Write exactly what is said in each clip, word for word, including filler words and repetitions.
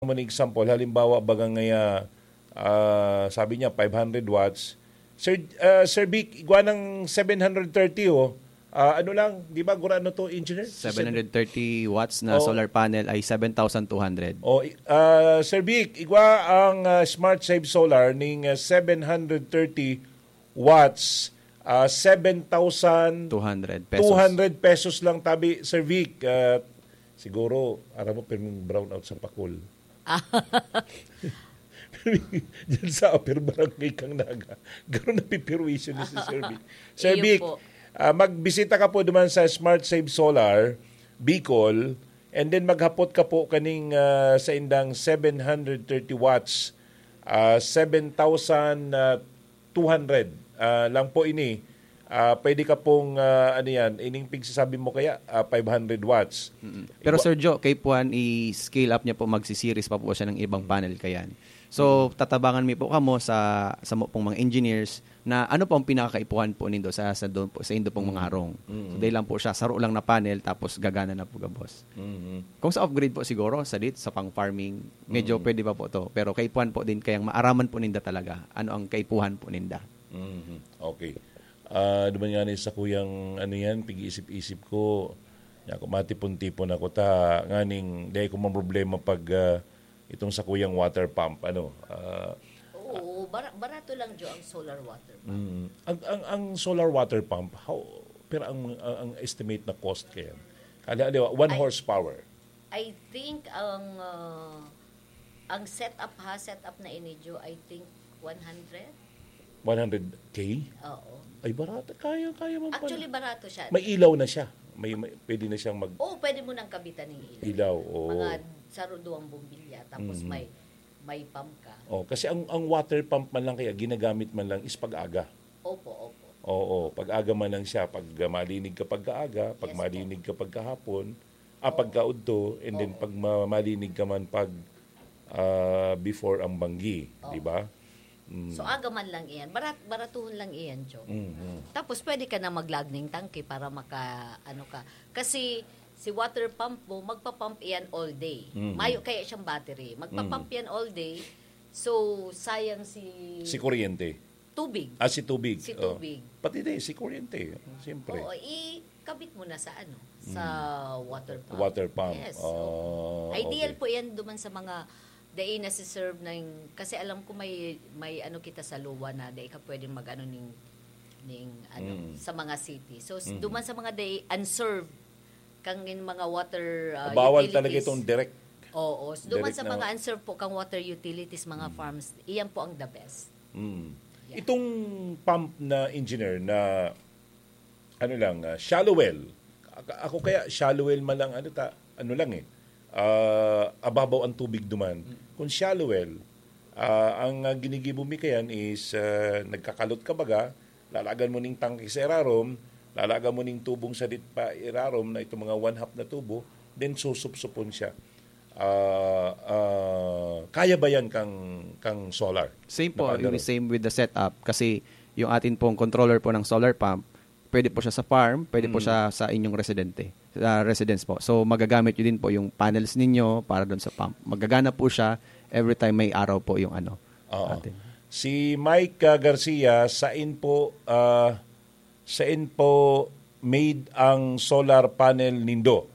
mo na example, halimbawa, baga ngaya, ah, sabi niya, five hundred watts. Sir, ah, Sir Vic, igwa ng seven hundred thirty, oh. Ah, ano lang, di ba, gurano to, engineer? Seven hundred thirty watts na Oo. solar panel ay seven thousand two hundred. Oh, i- ah, Sir Vic, igwa ang ah, Smart Save Solar ning ah, seven hundred thirty watts, ah, seven thousand Two hundred pesos. two hundred pesos lang tabi, Sir Vic. Ah, siguro, aram mo, pirming brownout sa Pakul. Diyan sa Upper Barangay kang Naga. Garo na pipirwisyo ni si Sir Vic. Sir Iyo Vic, po. ah, magbisita ka po duman sa Smart Save Solar, Bicol, and then maghapot ka po kaning ah, sa indang seven hundred thirty watts, ah, seven thousand two hundred ah, lang po ini. Ah, pwede ka pong, ah, ano yan, ining pigsasabi mo kaya, ah, five hundred watts. Mm. Pero Sir Joe, kay Puan, i-scale up niya po, magsi-series pa po siya ng ibang panel kayan. So, tatabangan mi po kamo sa sa mo pong mga engineers na ano po ang pinakakaipuhan po nindo sa sa, doon po, sa indo pong mga harong. So, dahil lang po siya, saro lang na panel, tapos gagana na po gabos. Kung sa off-grid po siguro, sa dit, sa pang-farming, medyo pwede pa po to. Pero kaipuhan po din, kayang maaraman po ninda talaga ano ang kaipuhan po ninda. Mhm. Okay. Ah, duman nga ni sa kuyang ano yan, pig-iisip-isip ko, ya, kung matipon-tipon ako ta, nganing, dahil ko man problema pag ah, itong sa kuyang water pump, ano, ah, Oo, bara- barato lang, Jo, ang solar water pump. mm, ang, ang, ang solar water pump, how, pero ang, ang, ang estimate na cost kaya, halimbawa, one Ay. horsepower, I think ang ah, ang setup ha, setup na ini, Jo, I think one hundred? one hundred K? Oo. Ay, barato. Kaya, kaya man pala. Actually, barato siya. May ilaw na siya. May, may, pwede na siyang mag... Oo, pwede mo nang kabitan ng ilaw. Ilaw, oo. Mga saruduang bombilya, tapos Mm. may may pump ka. Oh, kasi ang, ang water pump man lang kaya ginagamit man lang is pag-aga. Opo, opo. Oo, pag-aga man lang siya. Pag ah, malinig ka pagkaaga, pag Yes po. malinig ka pagkahapon, ah, pagkaudto, and then Oo. pag ma- malinig ka man pag ah, before ang banggi, Oo. di ba? Mm. So aga man lang iyan. Barat, baratuhon lang iyan, Jo. Mhm. Tapos pwede ka na mag-log ning tangke para maka, ano ka. Kasi si water pump mo, magpa-pump iyan all day. Mhm. Mayo kaya siyang battery. Magpa-pump Mhm. Yan all day. So, sayang si Si kuryente. tubig. Ah, si tubig. Si Oh. tubig. Pati din, si kuryente. Siyempre. Oo, ikabit mo na sa ano, sa water pump. Water pump. Yes. Oh, Ideal okay. po yan duman sa mga dai na si serve ng, kasi alam ko may may ano kita sa luwa na dai ka pwedeng mag-ano ning ning ano Mm. sa mga city. So s- Mhm. duman sa mga dai unserved kang in mga water uh, Bawal utilities. Talaga itong direct. Oo, so duman Direct sa na mga wa- unserved po kang water utilities, mga farms, iyan po ang the best. Mm. Yeah. Itong pump na engineer na ano lang, ah, shallow well. Ak- Ako kaya shallow well man lang, ano ta, ano lang eh. Ah, ababaw ang tubig duman. Kung shallow well, ah, ang ah, ginigibo mi kayan is ah, nagkakalot ka baga, lalagan mo ning tangke sa irarom, lalagan mo ning tubong sa dit pa irarom na itong mga one half na tubo, then susupsupon siya. Ah, ah, kaya ba yan kang kang solar? Same po, Nakaano yung rin? Same with the setup. Kasi yung atin pong controller po ng solar pump, pwede po siya sa farm, pwede po Mm. siya sa inyong residente, sa residence po. So magagamit nyo din po yung panels ninyo para doon sa pump. Magagana po siya every time may araw po yung ano. Oo. Atin. Si Mike ah, Garcia, sain po ah, sain po made ang solar panel nindo?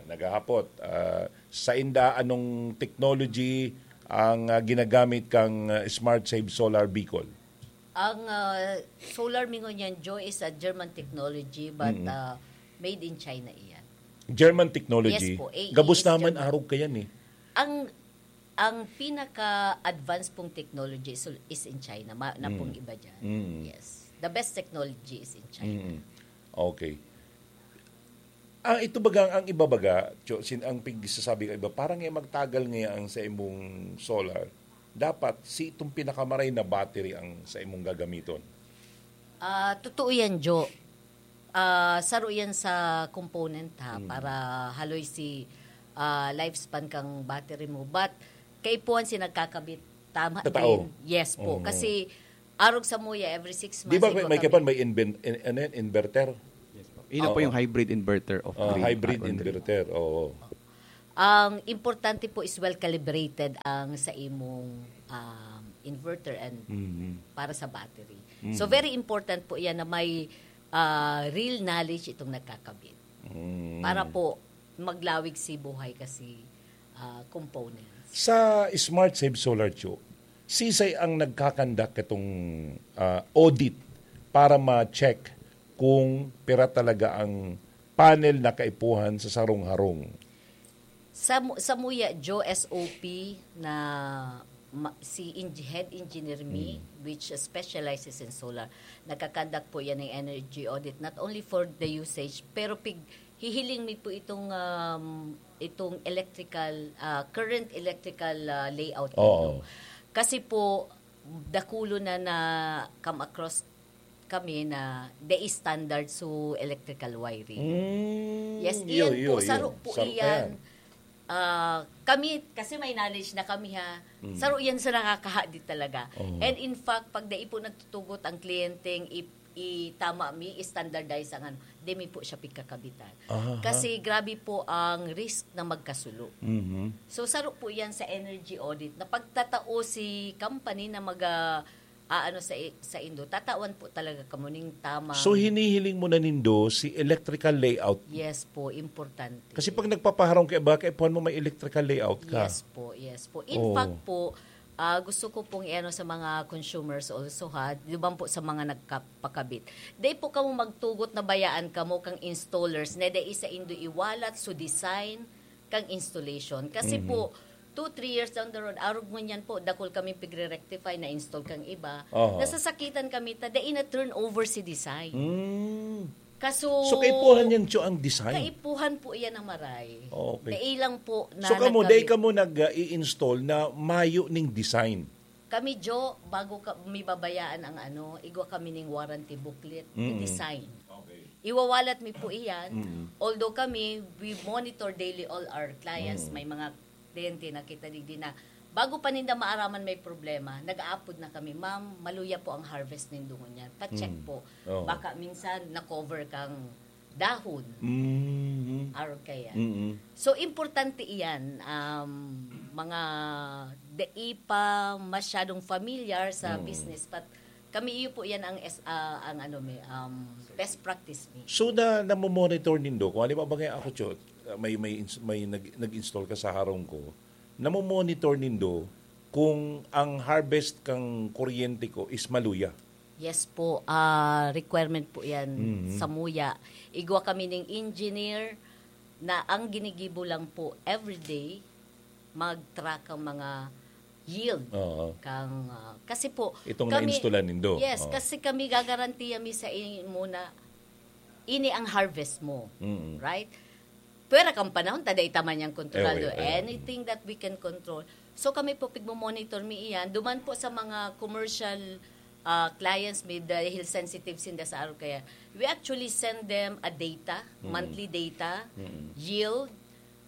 Naghahapot. Ah, sain da anong technology ang ah, ginagamit kang ah, Smart Save Solar Bicol? Ang ah, solar mi ngunyan, Joe, is a German technology but ah, made in China iyan. German technology. Yes po, A E Gabos is naman German. Arog kayan eh. Ang ang pinaka-advanced pong technology is, is in China, ma, na pong iba dyan. Mm. Yes. The best technology is in China. Mm. Okay. Ah, ito baga, ang iba baga, Cho, sin, ang pigsasabi ka iba, parang nga magtagal nga ang sa imong solar. Dapat si itong pinakamaray na battery ang sa imong gagamiton. Ah, totoo yan, Jo. Ah, saro yan sa component ha, para haloy si ah, lifespan kang battery mo. But kaipuhan si nagkakabit tama Tatao. din. Yes po. Mhm. Kasi arog sa muya every six months. Di ba ikaw may kabit. kapan may inven, in, ano yan, inverter? Ina po Oo. yung hybrid inverter of Ah, grid. hybrid Ah, inverter, oo. Ang importante po is well calibrated ang sa imong, um, inverter and Mhm. para sa battery. So, Mhm. very important po yan na may, ah, real knowledge itong nagkakabit. Mm. Para po maglawig si buhay kasi, ah, components. Sa Smart Save Solar, Cho, sisay ang nagkakandak itong, ah, audit para ma-check kung pira talaga ang panel na kaipuhan sa sarong harong? Sa mu-, sa Muya, Joe, S O P na ma-, si Eng-, head engineer mi, Mm. which specializes in solar. Nagkakandak po yan ng energy audit, not only for the usage, pero pig-, hihiling mi po itong, um, itong electrical, ah, current electrical, ah, layout Oo. nito. Kasi po, dakulo na na come across kami na dai standard so electrical wiring. Mm, Yes, iyo, iyan iyo, po, iyo. saro po Saro pa iyan. yan. Ah, kami, kasi may knowledge na kami, ha. Mm. Saro yan sa nakakahadi talaga. Oo. And in fact, pag dai po nagtutugot ang kliyenteng i-, itama mi, standardize ang ano, di mi po siya pigkakabitan. Aha. Kasi grabe po ang risk na magkasulo. Mhm. So, saro po yan sa energy audit na pagtatao si company na mag, ah, aano sa i-, sa indo, tatawan po talaga kamo ning tamang So, hinihiling mo na nindo si electrical layout? Yes po, importante. Kasi pag nagpapaharong ka iba, kaipuhan mo may electrical layout ka. Yes po, yes po. In Oo. fact po, ah, gusto ko pong iano sa mga consumers also, ha, di ba po sa mga nagkapakabit. Di po kamo magtugot na bayaan kamo kang installers na dai sa indo iwalat so design kang installation. Kasi Mhm. po, two, three years down the road, arog ngunyan po, dakul kami pigre-rectify na install kang iba. Aha. Nasasakitan kami ta dai na turnover si design. Mm. Kaso So, kaipuhan yan, Cho, ang design? Kaipuhan po yan ang maray. Okay. Dai lang po na So, kamo, nagkabit. dai kamo nag, ah, i-install na mayo ning design? Kami, Jo, bago ka, mi babayaan ang ano, igwa kami ning warranty booklet, Mm. i-design. Okay. Iwawalat mi po iyan. Mm. Although kami, we monitor daily all our clients. Mm. May mga kliyente na kita digdi na bago pa ninda maaraman may problema, nag-aapod na kami, "Ma'am, maluya po ang harvest nindo ngunyan. Pa-check Mm. po. Oo. Baka minsan na-cover kang dahon." Mm. Arog kaya. Mm. So, importante iyan, um, mga dai pa masyadong familiar sa Mm. business, but kami iyo po yan ang es-, ah, ang ano, may, um, best practice mi. So, na, namomonitor nindo, kung halimbawa ba kaya ako, Cho, ah, may, may ins-, may nag-, nag-install ka sa harong ko, namomonitor nindo kung ang harvest kang kuryente ko is maluya? Yes po, ah, requirement po yan Mhm. sa Muya. Igwa kami ning engineer na ang ginigibo lang po everyday, mag-track ang mga yield Oo. kang, ah, kasi po, Itong kami nainstolan nindo. Yes, Oo. kasi kami gagarantiya mi sa imo na ini ang harvest mo. Mm. Right? Pwera kang panahon, ta dai ta man yang kontrolado. Eh, okay, eh. Anything that we can control. So, kami po, pigmo-monitor mi iyan. Duman po sa mga commercial, ah, clients mi, dahil sensitive sinda sa araw kaya, we actually send them a data, Mm. monthly data, Mm. yield,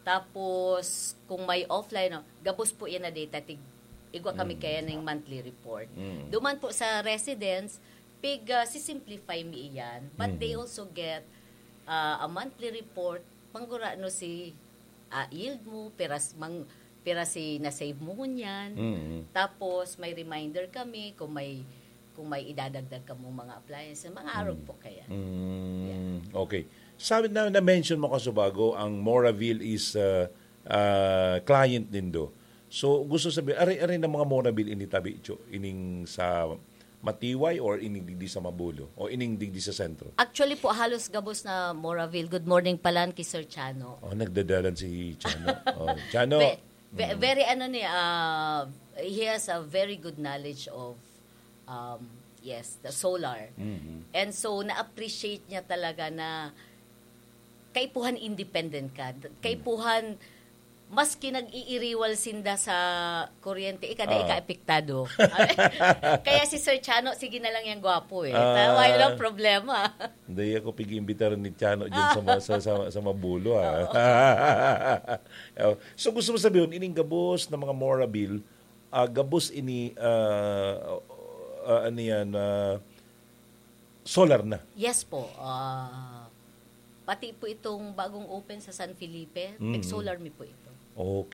tapos kung may offline, no, gabos po yan na data, tig-, igwa kami Mm. kaya ng monthly report. Mm. Duman po sa residents, pig, ah, si-simplify mi iyan, but Mm. they also get, ah, a monthly report, manggurano si, ah, yield mo, piras, mang, pira si na-save mo ngunyan. Mm. Tapos, may reminder kami kung may, kung may idadagdag ka mong mga appliances, mga arog Mm. po kaya. Mm. Yeah. Okay. Sabi na, na-mention mo kasubago, ang Moraville is, uh, uh, client nindo. So, gusto sabi, are, are ng mga Moraville ini tabi, Cho, ining sa Matiway or ining digdi sa Mabulo? O ining digdi sa sentro? Actually po, halos gabos na Moraville. Good morning pala ki Sir Chano. Oh, nagdadalan si Chano. Oh, Chano. Ve-, ve-, Mm. very ano ni, ah, he has a very good knowledge of, um, yes, the solar. Mhm. And so, na-appreciate niya talaga na kaipuhan independent ka. Mm. Kaipuhan, maski nag-iiriwal sinda sa kuryente, ika, dai Ah. ka apektado. Kaya si Sir Chano, sige na lang yang gwapo eh. Ah. Wala lang problema. Hindi ako pig-iimbitar ni Chano dyan sa ma-, sa, sa, sa Mabulo, ah. Oo. Oh, so gusto mo sabihin, ining gabos na mga Moraville, ah, gabos ini, ah, ah, ano yan, ah, solar na? Yes po. Ah, pati po itong bagong open sa San Felipe, Mm. nag-solar mi po ito. Okay.